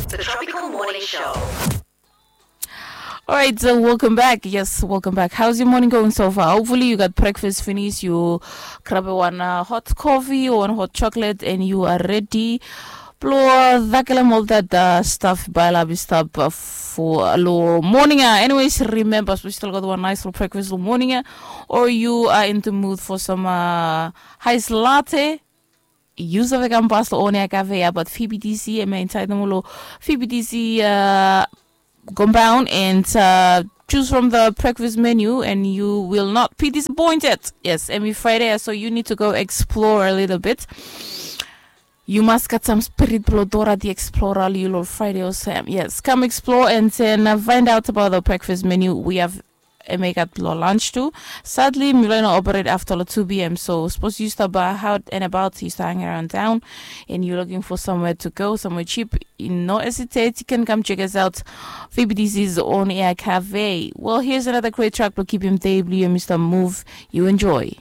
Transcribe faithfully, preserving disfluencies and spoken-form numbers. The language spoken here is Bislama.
The Tropical Morning Show. Alright, so welcome back. Yes, welcome back. How's your morning going so far? Hopefully you got breakfast finished. You grab a one uh, hot coffee or one hot chocolate, and you are ready. Blo dakelem all that uh, stuff bailab stap uh, for lo morning. Uh. Anyways, remember, we still got one nice little breakfast lo morning. Uh, or you are in the mood for some uh, ice latte. Yu save kam pas lo Onia Cafe ya, but P B T C em ya inside lo P B T C uh, compound and uh, choose from the breakfast menu and you will not be disappointed. Yes, every Friday, so you need to go explore a little bit. You must get some spirit blo Dora the Explorer lo Friday or Sam. Yes, come explore and then uh, find out about the breakfast menu we have e megat blo lunch tu. Sadly, mi lai no operate after lo two p.m. So suppose you stop by out and about, you start hanging around town, and you're looking for somewhere to go, somewhere cheap, you no hesitate, you can come check us out. V B T C's on air cafe. Well, here's another great track to keep him day blue, Mr. Move. You enjoy.